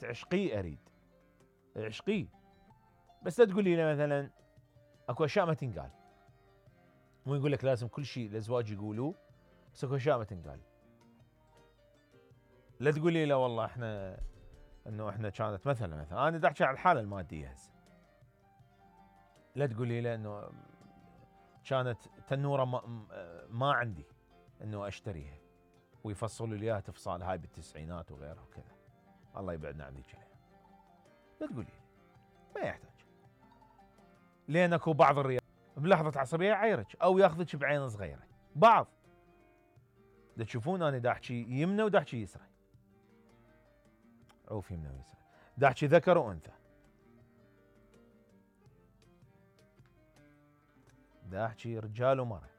عشقيه اريد عشقيه. بس لا تقول لي مثلا اكو اشياء ما تنقال، مو يقول لك لازم كل شيء الازواج يقولوه، بس اكو اشياء ما تنقال. لا تقول لي لا والله احنا انه احنا كانت مثلا انا دا احكي على الحاله الماديه هسه. لا تقول لي لا انه كانت تنوره ما عندي انه اشتريها ويفصلوا لي اياها تفصال هاي بالتسعينات وغيرها وكذا. الله يبعدنا عن ذيك. لا تقول لي ما يحتاج، لان اكو بعض الرجال بلحظه عصبيه يعيرك او ياخذك بعين صغيره. بعض دا تشوفون انا دا احكي يمنى ودا احكي يسرى، عوف يمنى ويسرى، دا احكي ذكر وانثى، دا احكي رجال ومرأة.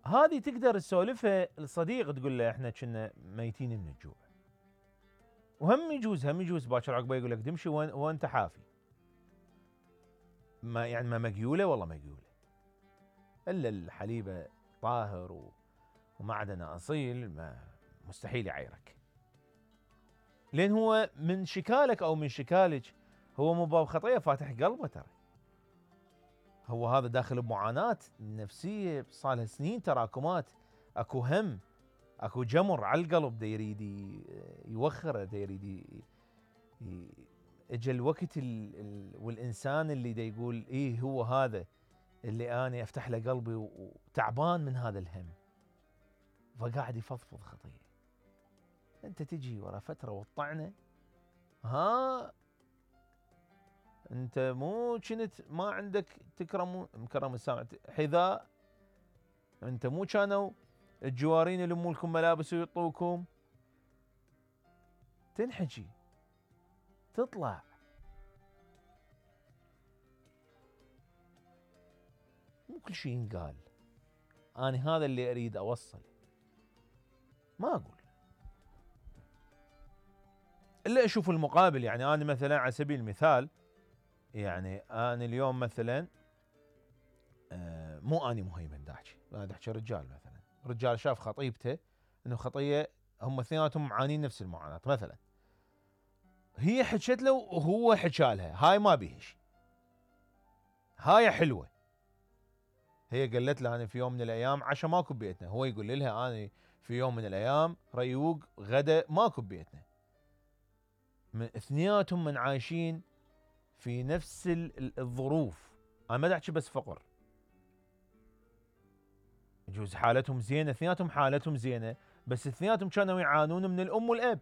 هذه تقدر تسولفها لصديق تقول له احنا كنا ميتين من الجوع، وهم يجوز باكر عقبه يقول لك دمشي وانت حافي. ما يعني ما مقيوله والله مقيوله، الا الحليبه طاهر ومعدنه اصيل ما مستحيل يعيرك، لان هو من شكالك او من شكالك هو مو باب خطيه فاتح قلبه. ترى هو هذا داخل بمعاناه نفسيه صار لها سنين تراكمات، اكو هم، اكو جمر على القلب دا يريد يوخره، دا يريد اجى الوقت والانسان اللي دا يقول ايه هو هذا اللي انا افتح له قلبي وتعبان من هذا الهم، فقاعد يفضفض خطيه. انت تجي ورا فتره وتطعنه، ها انت مو كنت ما عندك مكرم السامع حذاء، انت مو كانوا الجوارين يلموا لكم ملابس ويعطوكم. تنحكي تطلع. مو كل شيء ينقال. انا هذا اللي اريد اوصل، ما اقول الا اشوف المقابل. يعني انا مثلا على سبيل المثال، يعني انا اليوم مثلا مو اني مهيمن دا احكي، انا دا احكي رجال مثلا، رجال شاف خطيبته انه خطيه هم اثنيناتهم معانين نفس المعاناه، مثلا هي حكت له وهو حكى لها، هاي ما بيهش، هاي حلوه. هي قالت له انا في يوم من الايام عشاء ماكو ببيتنا، هو يقول لها انا في يوم من الايام ريوق غدا ماكو ببيتنا. اثنيناتهم من عايشين في نفس الظروف. انا ما احكي بس فقر، يجوز حالتهم زينه، اثنيناتهم حالتهم زينه، بس اثنيناتهم كانوا يعانون من الام والاب.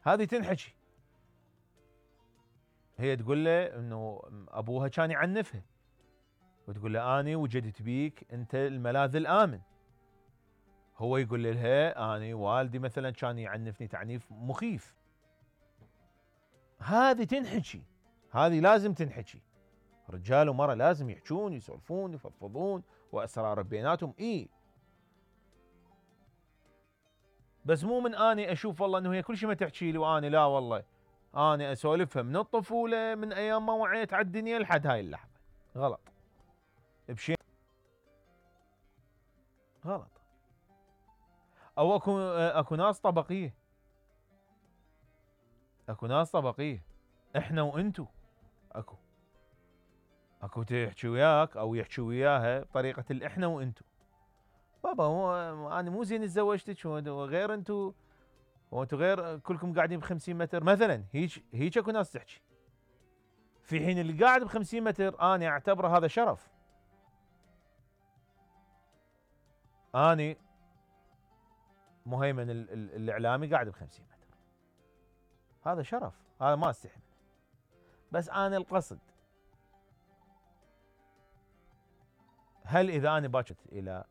هذه تنحكي. هي تقول له انه ابوها كان يعنفها، وتقول له اني وجدت بيك انت الملاذ الامن. هو يقول لها اني والدي مثلا كان يعنفني تعنيف مخيف. هذه تنحكي، هذه لازم تنحكي. رجال ومرأة لازم يحجون يسولفون يفضفضون واسرار بيناتهم. بس مو من اني اشوف والله انه هي كل شيء ما تحكي لي واني لا والله اني اسولفها من الطفوله من ايام ما وعيت على الدنيا لحد هاي اللحظه. غلط بشيء، غلط. او اكو ناس طبقيه، اكو ناس طبقيه، احنا وانتو. اكو تحكي وياك او يحكي وياها بطريقه الاحنا وانتو. بابا انا مو زين تزوجتك وغير انتو، وانتو غير كلكم قاعدين ب50 متر مثلا. هيك اكو ناس تحكي، في حين اللي قاعد ب50 متر انا اعتبره هذا شرف. اني مهيمن الاعلامي قاعد ب50 متر، هذا شرف، هذا ما استحي منه. بس انا القصد، هل اذا انا باكت الى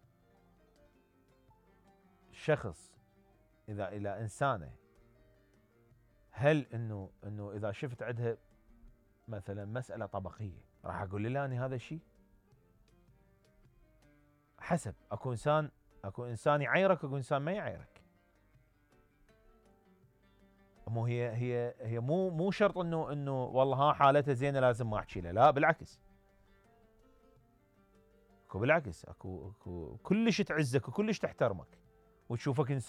شخص، اذا الى انسانه، هل انه اذا شفت عندها مثلا مساله طبقيه راح اقول لها اني هذا الشيء؟ حسب. اكو انسان يعيرك واكو انسان ما يعيرك. مو هي مو شرط انه والله ها حالتها زينه لازم ما احكي لها، لا بالعكس. بالعكس اكو كلش تعزك وكلش تحترمك وتشوفك انسان